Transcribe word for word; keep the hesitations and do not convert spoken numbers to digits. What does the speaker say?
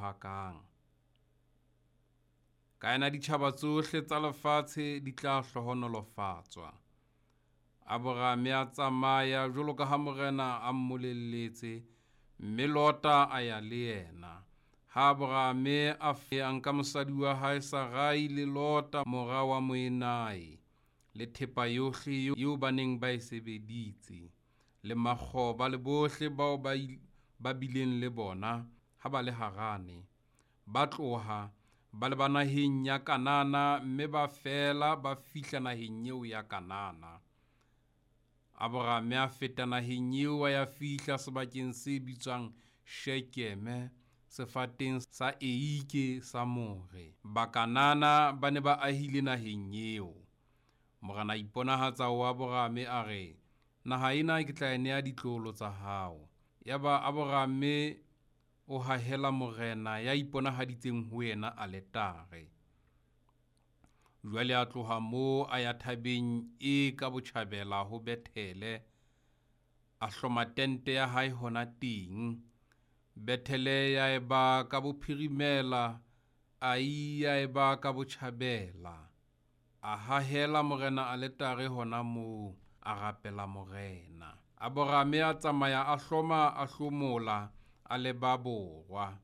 rohakang. Ka yena ditjhaba tsohle tsa lefatshe di tla hlohonolofatswa. Aborame a tsamaya jwalo ka ha Morena a mmolelletse, mme Lota a ya le yena. Ha Aborame a a nka mosadi wa hae Sarai le Lota mora wa moenae, le thepa yohle eo ba neng ba e sebeditse, le makgoba le bohle bao ba ba bileng le bona ha ba le Harane. Ba tloha ba leba naheng ya Kanana, mme ba fela ba fihla naheng eo ya Kanana. Aborame a feta naheng eo a ya fihla sebakeng se bitswang Shekeme, sefateng sa eike sa More. Bakanana ba ne ba ahile naheng eo. Morena a iponahatsa ho Aborame a re, naha ena ke tla e nea ditloholo tsa hao. Yaba Aborame o hahela Morena ya iponahaditseng ho yena aletare. Jwale a tloha moo a ya thabeng e ka botjhabela ho Bethele, a hloma tente ya hae hona teng. Bethele ya eba ka bophirimela, Ai ya eba ka botjhabela. A hahela Morena aletare hona moo, a rapela Morena. Aborame a tsamaya a hloma a hlomola a leba borwa.